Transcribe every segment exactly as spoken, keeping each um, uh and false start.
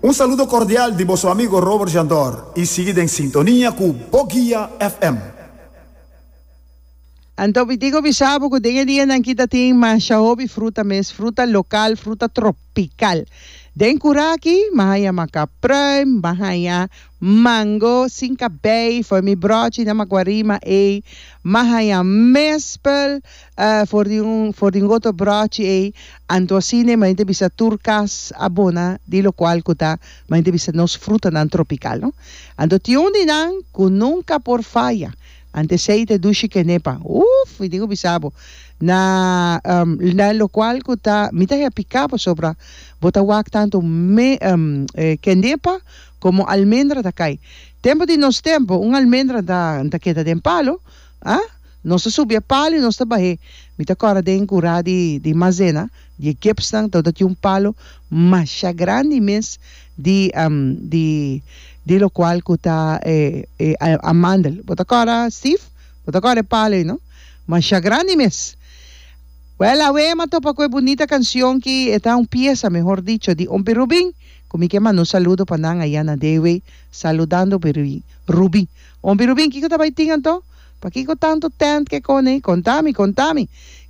Un saludo cordial di boso amigo Robert Jandor y sigui den sintonia cu Bo Guia F M. Anto mi tin ku bisa bo ku den e dianan aki ta tin masha hopi fruta mes, fruta lokal, fruta tropikal. Den kura aki mi a haña makapruim, mi a haña mango sin kabei for mi brochi na Maguarima ei, mi a haña mespel for di un for di un otro brochi ei. Anto asina mi ta bisa tur kas a bona di lokual ku ta mi ta bisa nos frutanan tropikal no. Anto tin un di nan ku nunka por faya. Ante esei ta dushi kenepa. Uf, mi tin ku bisa bo. Na na lokual ku ta mi ta hea piká pasobra bo ta wak tantu me kenepa komo almendra ta kai. Tempu di nos tempu un almendra ta ta keda den palo, ah, nos ta subi e palo i nos ta bah'é. Mi ta kòrda den kurá di di Mazena di e gipsnan tabata tin un palo masha grandi mes di di di lokual ku ta e e amandel. Bo ta kòrda, Steve? Bo ta kòrda e palo ei, no? Masha grandi mes. Wèl, awe m'a topa ku e bunita kansion ki e ta un piesa, mehor dicho, di Ompi Rubin, ku mi ke manda un saludo pa nan aya na Dewey, saludando Ompi Rubin. Ompi Rubin, kiko ta bai tin anto? Pakiko tantu tent ke kone? Konta mi, konta mi.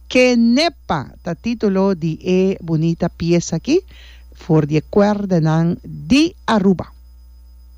Kenepa ta titulo di e bunita piesa aki for di e kuerdanan di Aruba.